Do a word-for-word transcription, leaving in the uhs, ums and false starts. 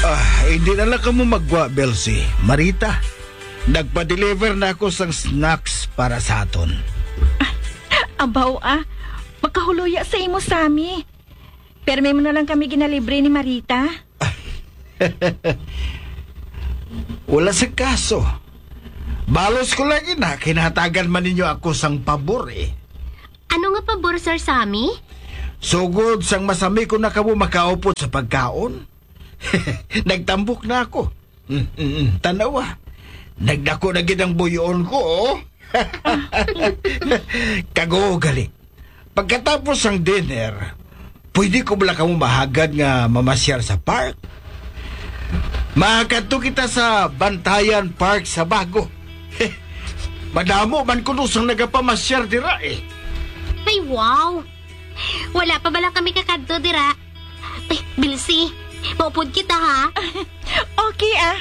Ah, hindi na lang kamo maggwa, Belsi. Marita, nagpa-deliver na ako sang snacks para sa aton. Abaw, ah. Makahuluya sa imo, Sammy. Permi mo na lang kami ginalibre ni Marita. Wala sa kaso. Balos ko lang ina, kinahatagan man ninyo ako sang pabor eh. Ano nga pabor, Sir Sammy? Sugod sang masami ko na kamo makaupod sa pagkaon. Nagtambok na ako. Mm, mm, mm. Tanawa. Nagdako na gid ang buyon ko, oh. Kago, gali. Pagkatapos sang dinner, pwede ko bala kamo mahagad nga mamasyar sa park? Makadto kita sa Bantayan Park sa Bago. Madamo man kuno sang nagapamasyar dira eh. Ay, wow! Wala pa bala kami kakadto dira. Ay, Bilsi, maupod kita, ha? Okay, ah.